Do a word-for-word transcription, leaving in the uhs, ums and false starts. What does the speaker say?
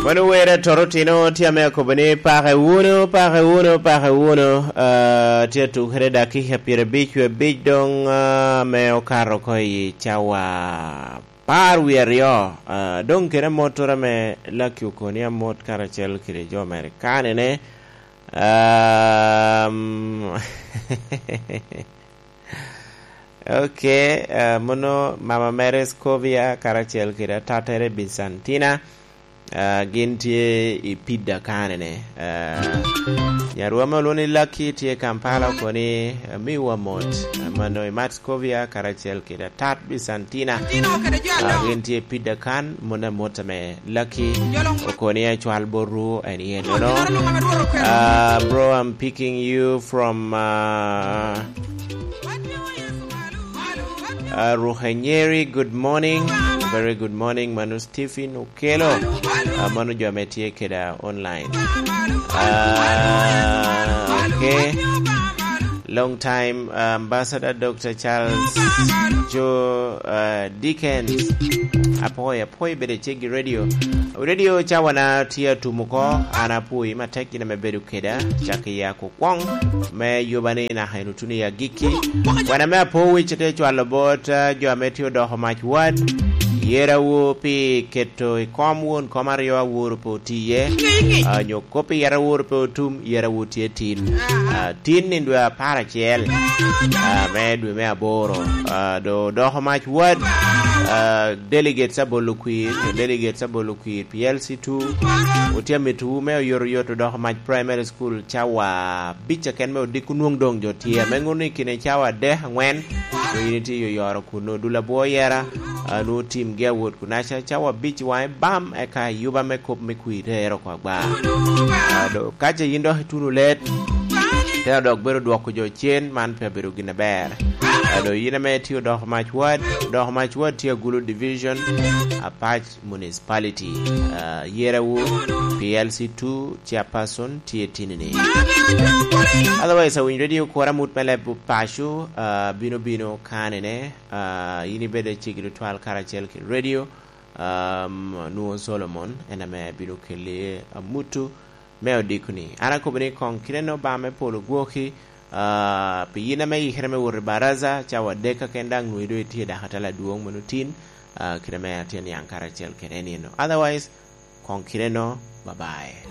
Mano wer atoro tino tye ame akobo ni, "Pake wunu, pake wunu, pake wunu." Ah, tye atukere dakika pyerabic wie abic doŋ, ah, ame okato oko i cawa apar wie aryo. Ah, doŋ kede amot tura ame Lucky okoni amot karacel kede jo mere kanene. Um, ok, ah, mono mama mere Scovia karacel kede atattere Bisantina. Ah, gin tye i Pida kanene. Ah, nyarwa me olwoŋo ni Lucky tye Kampala, okoni, ah, miwa mot. Ah, mano i Matscovia karacel kede atat Bisantina. Ah, gin tye i Pida kan, mano amot ame Lucky okoni acwal botwu en yen, no? Ah, bro, I'm picking you from, ah, ah, Ruhenyeri. Good morning. Very good morning, mano Stephen Okelo. Ah, mano jo ame tye keda online. Ah, ok. Long time, ah, Ambassador Doctor Charles Joe, ah, Dickens. Apwoyo, apwoyo bedo i ceggi radio. Radio cawana tye atum oko, an apwoyi matek in ame bedo keda, cak i ya kwo kwoŋ me yuba ni naka en otuno i agikki. Wan ame apowic te cwalo bot, ah, jo ame tye odoko mac wad, yerawu pi keto i kom won kom aryo aworo pe otiye, ah, nyo kop i yet aworo pe otum, yerawu tye tin. Ah, tin i dwe apar acel, ah, me dwe me aboro. Ah, do odoko mac wad, ah, delegates abolo kwir, delegates abolo kwir P L C two, otye amito wu me oyotoyot odoko mac primary school cawa abic aken me odiko nwoŋ doŋ jo tye. Ame ŋuno i kine cawa adek, aŋwen, to in itye i oyoro kuno, dul abwo yera, ah, nwoŋo timgi awot kunaca, cawa abic waŋe bam, eka yuba me kop me kwir tero oko agba. Ah, do, ka ce yin dok ituno let, tera dok bedo dwoko jo cen, man pe abedo gin aber. Ah, do, yin ame tye odoko mac wad, odoko mac wad tye Agulu Division, Apac Municipality. Ah, yerawu P L C two chairperson tye tinini. Otherwise, awinyo radio kora mut me leb paco, ah, bino bino kanene, ah, yin ibedo ceggi tutwal karacel ki radio, um, nwoŋo Solomon en ame bino keli amutu me odiko ni. An akobo ni koŋ kite no ba me polo gwoki, ah, pi yin ame ikere me wot i baraza, cawa adek kaken daŋ nwoŋo doŋ itye dako atala adwoŋ mano tin, ah, kite ame atye niaŋ karacel kede en ino. Otherwise, koŋ kite no, bye bye.